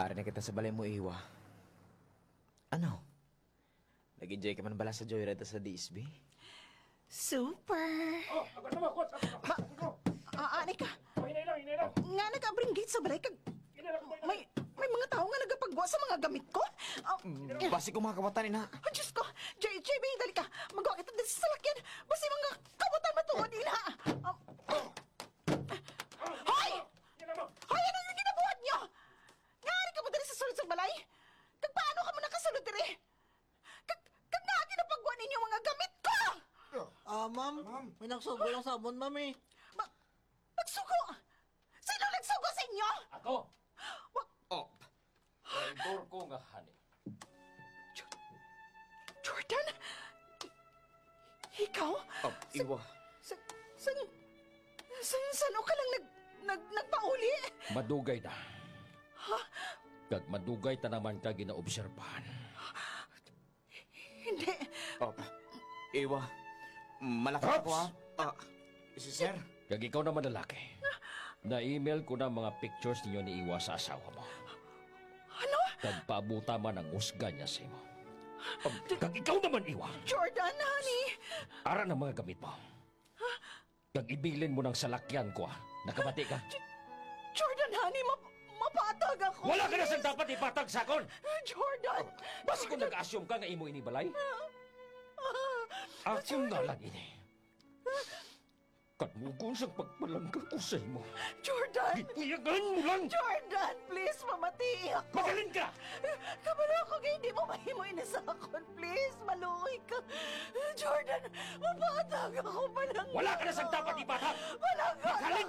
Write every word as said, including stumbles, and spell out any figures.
Ari na kita sa balay mo, Iwa. Ano? Nag-enjoy ka man bala sa joyride sa D S B? Super! Oh, ako naman, kuwan sa Ma-, ah, ani ka? Oh, hinay lang, hinay lang. Nga nag-abring gate sa balay kag Hinay lang, hinay lang. may, may mga tao nga nagapagwa sa mga gamit ko? Ah, Mm, basi ko mga kawatan, ina. Ah, Diyos ko! J J B, dali ka! Magwa kita dito sa salakyan! Basi mga kawatan matuod, ina! Ah, Hoy! Hinay lang, ma'am. Hoy, ano yung ginabuhat niyo? Nga ari ka mo diri sa sulod sa balay? Kag paano ka mo nakasulod diri? Kag, kag nga ginapagwa ninyo mga gamit ko? Ah, ma'am, Ma'am. may nagsugo lang sa amon, ma'am, eh. Ma-, nagsugo? Sino nagsugo sa inyo? Ako! Wa- Oh. Traidor ko nga, honey. Jo-, Jordan? Ikaw? Ah, Sa, Iwa. sa, sa, sa, saan ka lang nag, nag, nagpauli? Madugay na. Ha? Kag madugay ta naman ka ginaobserbahan. Hindi. Oh, Iwa, malaki Ops! ako, ha? Ah, si Sir. Kag ikaw naman, lalaki. Na-email ko na mga pictures ninyo ni Iwa sa asawa mo. Ano? Kag paabuta man ang husga niya sa imo. Um, kag ikaw naman, Iwa. Jordan, honey. Ara na mga gamit mo. Kag ibilin mo nang salakyan ko, ah. Nakabati ka? J-, Jordan, honey, map-, mapatag ako, Wala ka na please. sang dapat ipatag sa akon! Jordan! Basi kung nag-assume ka nga imo ini balay? Ah, ah, Akon na lang ini. Kanugon sang pagpalangga ko sa imo. Jordan! Gipuyagan mo lang! Jordan, please, pamati ako! Magaling ka! Kabalo ako nga hindi mo mahimo ini sa akon. Please, maluoy ka. Jordan, mapatag ako, palangga. Wala ka na sang dapat ipatag! Palangga! Magaling